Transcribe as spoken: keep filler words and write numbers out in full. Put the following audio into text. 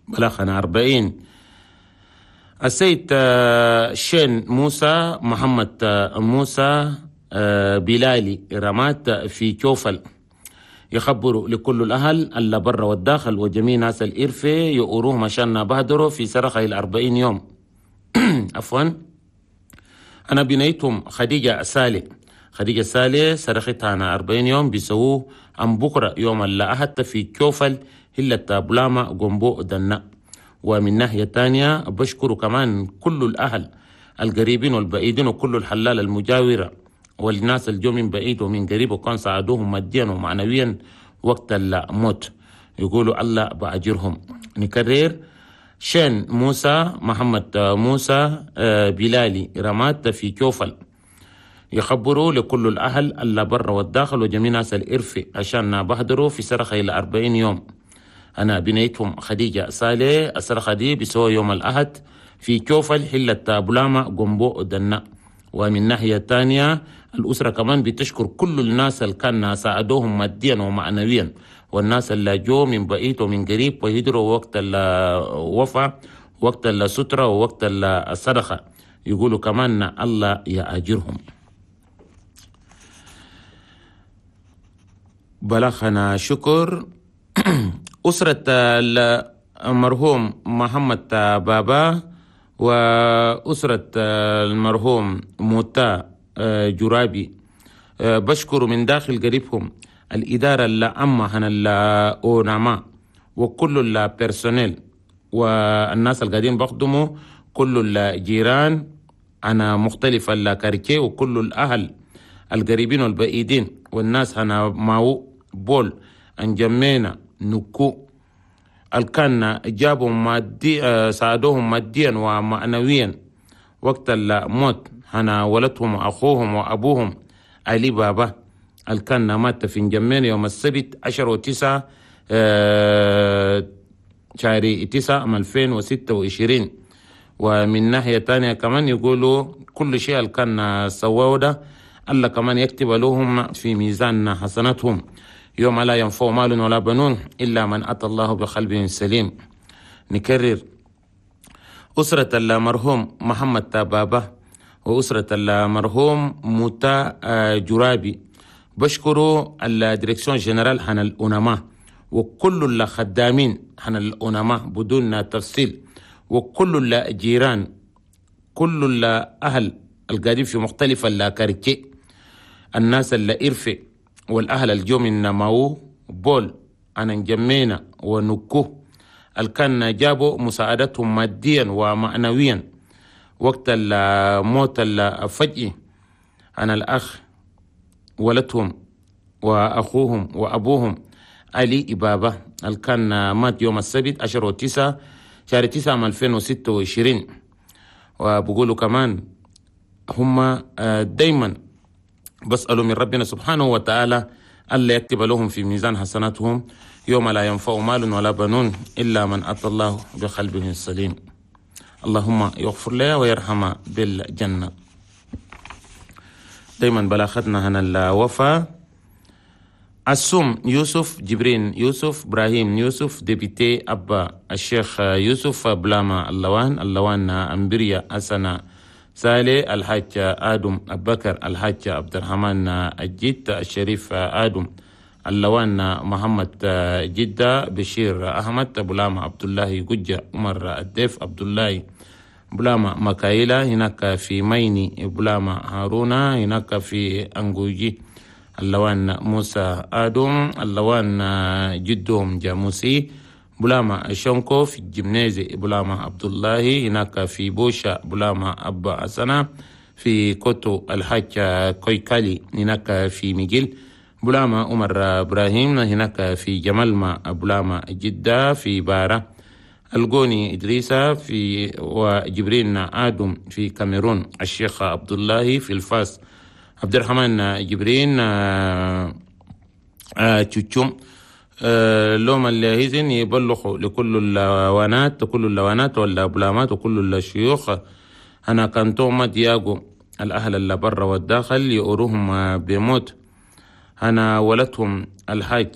بلغنا أربعين. السيد شين موسى محمد موسى بلالي رمات في كوفل يخبروا لكل الأهل اللي برا والداخل وجميع ناس الإرفة يؤروهم عشان بهدروا في سرقة الأربعين يوم. عفوا، أنا بنيتهم خديجة سالي، خديجة سالي سرقتها أنا أربعين يوم بيسووه عن بكرة يوم الأحد في كوفل هلة بلاما جنبو دنا. ومن ناحية تانية بشكر كمان كل الأهل القريبين والبعيدين وكل الحلال المجاورة والناس الجو من بعيد ومن قريب وكان ساعدوهم ماديا ومعنويا وقت الموت، يقولوا الله بأجرهم. نكرر، شين موسى محمد موسى بلالي رمات في كوفل يخبروا لكل الأهل اللي برا والداخل وجميع ناس الإرفة عشان بهدروا في سرقة إلى أربعين يوم. أنا بنيتهم خديجة صالح، السرقة دي بسوى يوم الأحد في كوفل حلة بلاما جنبو دنا. ومن ناحية تانية الأسرة كمان بتشكر كل الناس اللي كان ساعدوهم ماديا ومعنويا، والناس اللي جو من بعيد ومن قريب وهدروا وقت الوفاة وقت السترة ووقت الصدقة، يقولوا كمان الله يأجرهم. بلغنا شكر أسرة المرحوم محمد بابا وأسرة المرحوم موتا جرابي، بشكر من داخل قريبهم الإدارة اللي أما هنا الأوناما وكل البيرسونيل والناس اللي قاعدين بخدموا كل الجيران أنا مختلف الكاركي وكل الأهل القريبين والبعيدين والناس هنا ماو بول أنجمينا نكو الكان جابوا مادي ساعدوهم ماديا ومعنويا وقت الموت. هنا ولدهم أخوهم وأبوهم علي بابا الكان مات في نجمين يوم السبت عشرة وتسعة شهر تسعة ألفين وستة وعشرين. ومن ناحية تانية كمان يقولوا كل شيء الكان سواه ده الله كمان يكتب لهم في ميزان حسناتهم يوم لا ينفع مال ولا بنون إلا من أتى الله بقلب سليم. نكرر، أسرة المرحوم محمد بابا وأسرة المرحوم موتا جرابي بشكروا ال direction générale حن الأونما وكل الخدامين حن الأونما بدون تفصيل، وكل الجيران كل الأهل القاعدين في مختلف ال quartiers، الناس اللي إرفع والأهل الجو من ماو بول أنا نجمينا ونكو الكان جابوا مساعدتهم ماديا ومعنويا وقت الموت الفجئي. أنا الأخ ولدهم وأخوهم وأبوهم علي إبابة الكان مات يوم السبت عشرة وتسعة شهر تسعة ألفين وستة وعشرين. وبقولوا كمان هم دايما بسألوا من ربنا سبحانه وتعالى ألا يكتب لهم في ميزان حسناتهم يوم لا ينفع مال ولا بنون إلا من أتى الله بقلبه السليم. اللهم يغفر له ويرحمه بالجنة. دايما بلاختنا هنا الوفاة. السوم يوسف جبرين يوسف إبراهيم يوسف député أبا الشيخ يوسف بلاما اللوان اللوان أمبريا أسنة سالي الحاج آدم أبكر الحاج عبد الرحمن الجد الشريف آدم اللوان محمد جدة بشير أحمد بلاما عبد الله ججة عمر الديف عبد الله بلاما مكايلة هناك في ميني بلاما هارونا هناك في أنجوجي اللوان موسى آدم اللوان جدهم جاموسي بلاما شونكو في الجمنازي بلاما عبد الله هناك في بوشا بلاما أبا حسنة في كوتو الحاج كويكالي هناك في ميجيل بلاما عمر إبراهيم هناك في جمال بلاما جدة في بارة الجوني إدريسة في وجبرين آدم في كاميرون الشيخ عبد الله في الفاس عبد الرحمن جبرين تشوتشوم لوم اللي يبلغوا لكل اللوانات كل اللوانات والبلامات وكل الشيوخ. أنا كانتوما دياغو الأهل اللي برا والداخل يؤروهم بموت. أنا ولدهم الحاج